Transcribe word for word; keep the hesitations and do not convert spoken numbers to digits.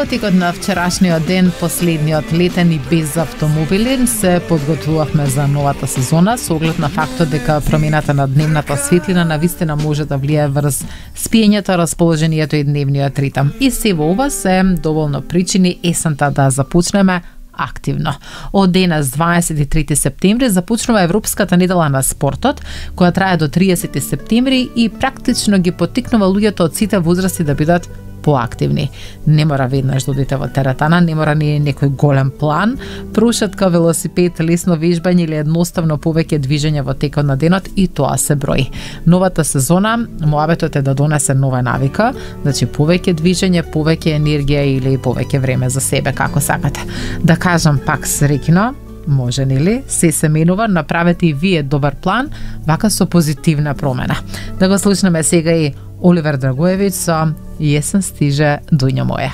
Во текот на вчерашниот ден, последниот летен и без автомобили, се подготвувавме за новата сезона со оглед на фактот дека промената на дневната светлина навистина може да влијае врз спиењето, расположението и дневниот ритам. И се во ова се доволно причини есента да започнеме активно. Од денес, дваесет и трети септември, започнува Европската недела на спортот, која трае до триесети септември и практично ги поттикнува луѓето од сите возрасти да бидат поактивни. Не мора веднаш да одите во теретана, не мора ни некој голем план, прошетка, велосипед, лесно вежбање или едноставно повеќе движење во текот на денот, и тоа се брои. Новата сезона, моабетот е да донесе нова навика, значи повеќе движење, повеќе енергија или повеќе време за себе, како сакате. Да кажам пак среќно, може нели? Се се менува, направете и вие добар план, вака со позитивна промена. Да го слушнеме сега и Оливер Драгоевиќ со Јесен стиже, дуња моја.